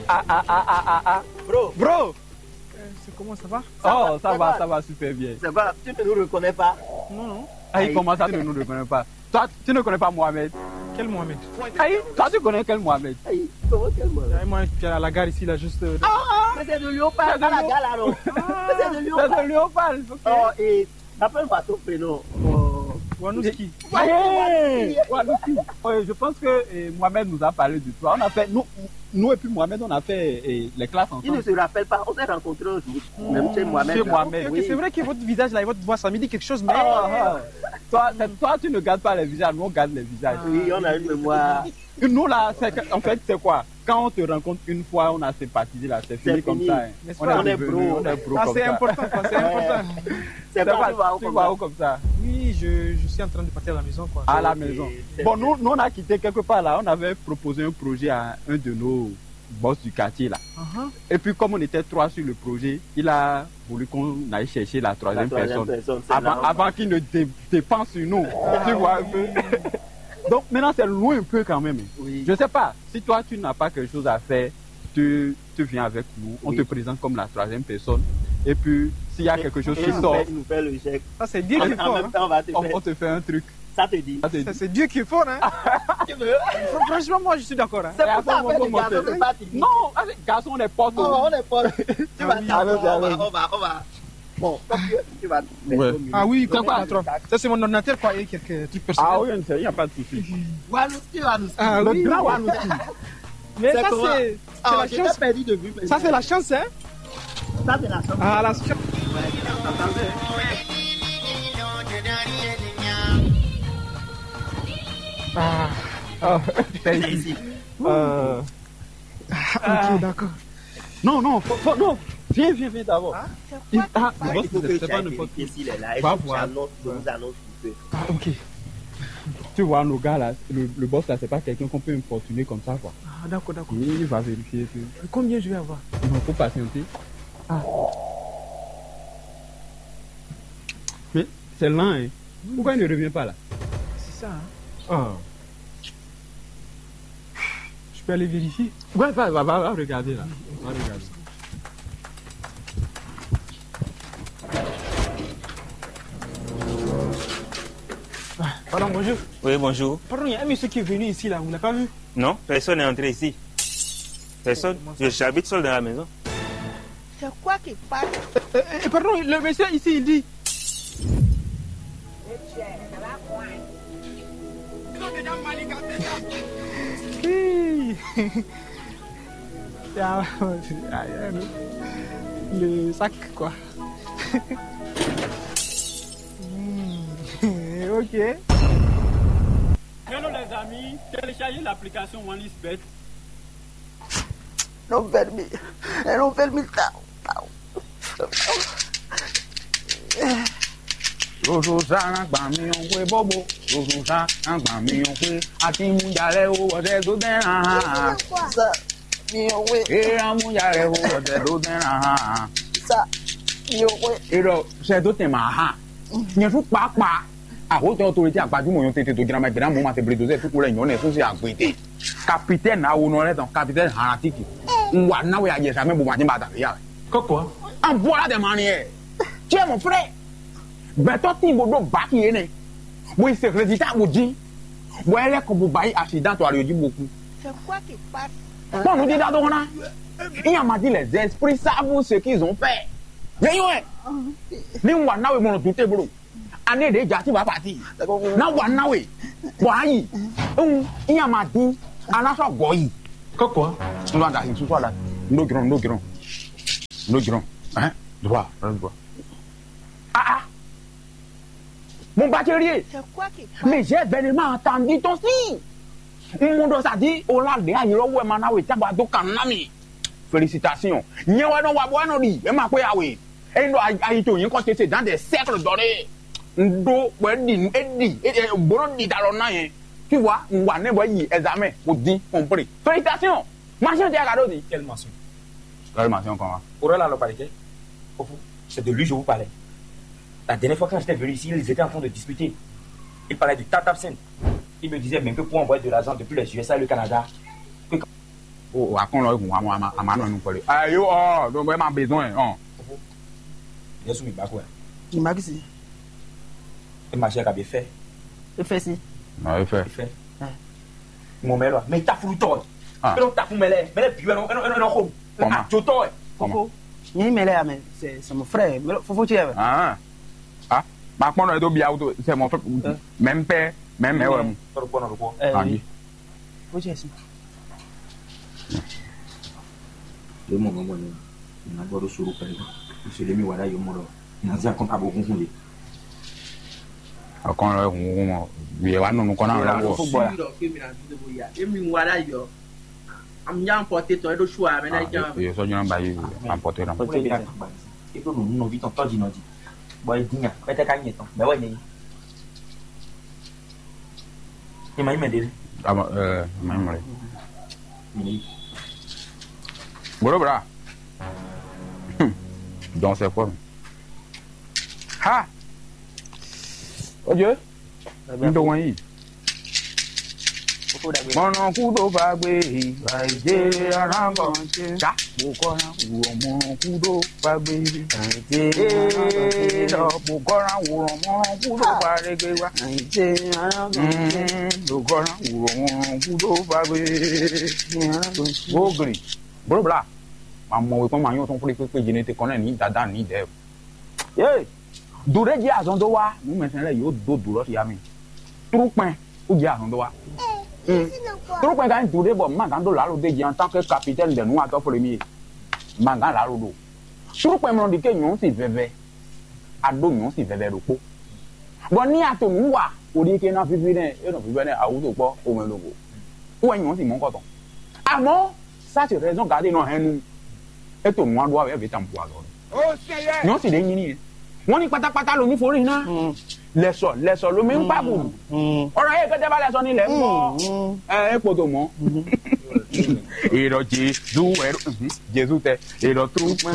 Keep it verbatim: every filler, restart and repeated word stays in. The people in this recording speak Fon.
Ah, ah, ah, ah, ah, ah. Bro. Bro. Euh, c'est comment, ça va? Oh, ça va, ça va super bien. Ça va, tu ne nous reconnais pas? Non, non. Ah, il commence à ne nous reconnaît pas. Toi, tu ne connais pas Mohamed? Quel Mohamed? Aïe, toi, tu connais quel Mohamed? Aïe, comment quel Mohamed? Ah, moi, qui est à la gare ici, là, juste, euh, Ah, mais c'est de Léopard, c'est de à la Léo- gare, là, non? Mais c'est de C'est Léopard. De Léopard, ok. Oh, et rappelle-moi ton prénom. Oh. Wanouski. Aïe, Wanouski. Ouais, je pense que euh, Mohamed nous a parlé de toi. On a fait, nous, nous et puis Mohamed, on a fait euh, les classes ensemble. Il ne se rappelle pas. On s'est rencontrés un jour. Même chez Mohamed. Chez Mohamed, ok, ok, oui. C'est vrai que votre visage là et votre voix, ça me dit quelque chose, mais Ah, ah. Toi, c'est- toi, tu ne gardes pas les visages, nous, on garde les visages. Oui, on a une mémoire. Nous, là, c'est que- en fait, c'est quoi? Quand on te rencontre une fois, on a sympathisé, là, c'est C'est fini comme fini. Ça, hein. N'est-ce On pas? Est On est devenu- bro. On est bro Ah, comme c'est ça. Important, quoi, c'est important. C'est C'est pas, pas, tu vois où tu comme vois ça. Où comme ça? Oui, je, je suis en train de partir à la maison, quoi. À la Ok, maison. C'est Bon, bien. Nous, nous, on a quitté quelque part là. On avait proposé un projet à un de nos boss du quartier là. Uh-huh. Et puis, comme on était trois sur le projet, il a voulu qu'on aille chercher la troisième La troisième personne personne, c'est avant, normal. Avant qu'il ne dé- dépend sur nous. Ah, tu vois un peu. Donc, maintenant, c'est loin un peu quand même. Oui. Je sais pas, si toi, tu n'as pas quelque chose à faire, tu, tu viens avec nous, on Oui. Te présente comme la troisième personne. Et puis, s'il y a Et- quelque chose et qui en sort, fait, il nous fait le chèque. Ça, c'est Dieu En, qui en fort, même hein. temps, on va te On, faire. On te fait un truc. Ça te dit. Ça te Ça, dit. C'est Dieu qui est fort, hein. Tu veux? Fr- Franchement, moi, je suis d'accord, hein. C'est Et pour ça, après, en fait, on les va garçons, monter. C'est pas fini. Non, avec garçon, on est potes. Oh, on est potes. Tu Ah vas oui. T'asseoir, Allons-y, on va, allons-y. On va, on va. Bon, comme tu, tu vas Ouais. Ah oui, C'est comme quoi? Patron. Ça, c'est mon ordinateur, quoi, et quelques trucs personnels. Ah oui, il n'y a pas de souci. Wanouski, Wanouski. Ah Le oui. Grand Wanouski. Mais C'est ça, comment? C'est c'est Ah, la je t'ai chance. Perdu de vue, mais Ça, c'est la chance, hein? Ça, c'est la chance. Ah, la chance. Ouais, attends, attends. Ah. Ah, c'est ici. C'est ici. Euh, Ah, ok, d'accord. Non, non, faut, faut- non. Viens, viens, viens d'abord. Hein? Il- Ah, le boss, Il faut que c'est pas j'aille n'importe vérifier qui. S'il est là. Et Va puis voir. J'annonce, je vous annonce tout. Ah, ok. Tu vois, nos gars là, le, le boss là, c'est pas quelqu'un qu'on peut importuner comme ça, quoi. Ah, d'accord, d'accord. Il va vérifier et tout. Combien je vais avoir? Non, faut patienter. Ah. Mais c'est lent, hein. Pourquoi il ne revient pas là? C'est ça, hein. Ah. Je peux aller vérifier? Ouais, va, va, va, va regarder là. Va regarder. Ah, pardon, bonjour. Oui, bonjour. Pardon, il y a un monsieur qui est venu ici là, vous l'avez pas vu? Non, personne n'est entré ici. Personne. Comment ça? Je- J'habite seul dans la maison. C'est quoi qui passe? Euh, euh, pardon, le monsieur ici, il dit. Hey. Ah, ah, ah, le, le sac, quoi. Hmm. Ok. Hello les amis, téléchargez l'application OneXBet. Não permite. Eu não permito. Não. Zozo sá ná gbà mì ɔ́ xwé bóbó. Zozo sá ná gbà mì ɔ́ xwé. Àti mú jalè ó wọ́dẹ́ tó dẹ́ hàn. Sa mi ò wé. Eye amúyá rẹ̀ ó wọ́dẹ́ tó dẹ́ hàn. Sa mi ò wé. Èrò ṣe tó tẹ̀ máa hàn. Nyɛ fún pàápàá. Àhótọ́ tó retí àgbájúmọ̀ yóò tètè tó jìnnà máa jìnnà mọ́ máa tẹ̀ bèrè dòzẹ́ fúkú rẹ̀ nyɔ̌nẹ̀ fún sí àgbèdè. Capitaine awo nɔ lɛ tɔn, capitaine Hanatiki. N wa náwó ya jɛ sa mɛ bo ma jɛ ba da ya. Kɔkɔ. An bɔra dɛ ma ni yɛ. Tiɛ mɔ frɛ. Gbɛtɔ tin bo ɖó baki yé nɛ. Bo yi se résultat bo dín. Bo yɛ lɛ kɔ bo ba yi accident to ali jí bo kú. C'est quoi qui passe? Kpɔn nu dídá dó hɔnna. Iyan ma di les esprits savent ce qu'ils ont fait. Yɛ yɔ ɛ. Ni n wa náwó mɔ nɔ dute bolo. Ane ɖe dza ti ba pati. Na wa na we. Bɔ ayi. Un iya ma di. Ana sɔ gɔ yi. Kɔkɔ. N wa da hin susu ala. N do grɔn, n do grɔn. N do grɔn. Hein? Droit, hein, droit. Ah ah. Mon bachelier. C'est quoi qui passe? Mais j'ai vraiment entendu ton signe. N mɔ ɖɔ sa di o la ɖe ayi lɔ wɛ ma na we taba do kan na mi. Félicitations. Nyɛ wɛ nɔ wa bɔ wɛ nɔ ɖi e ma kpé ya we. Eyin ɖɔ ayi to nyɛ kɔ tete dans des cercles donnés. N ɖo bɔ e ɖi e ɖi e e gbɔdɔ ɖi ta lɔ na yɛ. Tu vois, n wa ne bɔ yi examen o din compris. Félicitations. Machin tɛ ka ɖo di. Quelle mention? Quelle mention comment? Oral alors par lesquels? Au fond, c'est de lui je vous parlais. La dernière fois quand j'étais venu ici, ils étaient en train de discuter. Ils parlaient de Tata Sen. Ils me disaient même que pour envoyer de l'argent depuis les U S A et le Canada, que O akɔnɔ egun ama ama ama nɔ nu kɔli. Ayo ɔ, donc ɛ ma besoin ɔn. Yesu mi ba ko ɛ. Ni ma kisi. E ma se ka be fɛ. E fɛ si. Non, e fɛ. Fɛ. Mo mɛ lɔ, mɛ ta furu tɔ. Ah. E lɔ ta fun mɛ lɛ, mɛ lɛ bi wɛ nɔ nɔ nɔ xo. Comment? A jo tɔ ɛ. Koko. Ni mɛ lɛ ya mɛ, c'est c'est mon frère. Mɛ fofo cɛ ya mɛ. Ah. Ah. Ma kpɔn nɔ e do bia wuto, c'est mon frère. Même père, même mère wɛ mu. Tɔ kpɔn nɔ ko. Eh, Angi. Oui. Faut que je Ɖé mɔ mɔ̌ gbɔn n'i, nǎ gbɔ ɖó suɖu kpɛɖé. Sɔ́ ɖé mì wa ɖ'ayǐ mɔ ɖɔ nǎ zé akɔ́nta bó húnhún yě. Akɔ́n lɛ́ɛ húnhún mɔ, yě wá nɔ nukɔn ná lɔ wɔ. Fó gbɔ la. Emi wa ɖ'ayǐ ɔ, emi nya pɔte tɔ e ɖo su a mɛ ná jɛ. Yě sɔ́ jɔ́n ba yi apɔte ná. Kúlẹ̀ bí a ti gbà ní. E ɖo nǔ nɔví tɔn tɔ́ jǐ nɔ jí. Bɔ e dín nya, pɛtɛ ka nyɛ tɔn, bɛ́ wɛ nɛ yí. Ema yi mɛ ɖe. Ama, eh, ma yi mɔ le. Mɛ yi. Bro bra. Hmm. Donc c'est quoi? Ha. Oye. Ndo wan yi. Mɔnɔ kudo bagbe. Aije arango. Ja. Bukɔna uwo mɔnɔ kudo bagbe. Aije. Lɔ bukɔna uwo mɔnɔ kudo bagbe wa. Aije arango. Bukɔna uwo mɔnɔ kudo bagbe. Bogli. Bro bla. Ma mɔ we kɔn ma nyɔ tɔn kple kpekpe jene te kɔnɛ ni dada ni dɛ. Ye. Dure ji azɔn do wa nu mɛ sɛn lɛ yo do du lɔ ya mi. Trukpɛn, u jɛ azɔn dó wa. Trukpɛn ka nyí du ɖé bɔ ma gán ɖó lǎlo ɖé jí en tant que capitaine de nu atɔ premier. Ma gán lǎlo ɖo. Trukpɛn mlɔ ɖi ke nyɔ̌ si vɛvɛ. A ɖó nyɔ̌ si vɛvɛ ɖokpó. Bɔ ní a to nǔ wa, o ɖi ke ná fífí nɛ, e nɔ fífí nɛ awúto kpɔ o mɛ ɖokpó. Wɛ nyɔ̌ si mɔ kɔtɔn. Àmọ́, ça c'est raison garder nɔ hɛn nu. E to nǔ wa ɖó awɛ vɛ tan bu azɔ. Nyɔ̌ si ɖe nyí nìyẹn. Wọ́n ní pátápátá ló ní forí ná. Lẹ́sọ̀ lẹ́sọ̀ ló mi ń pàgùn. Ọ̀rọ̀ yẹn kẹ́tẹ́ bá lẹ́sọ̀ nílẹ̀ mọ́. Ẹ ẹ kpoto mọ́. Èrò Jésù ẹ̀rọ Jésù tẹ èrò tó pẹ́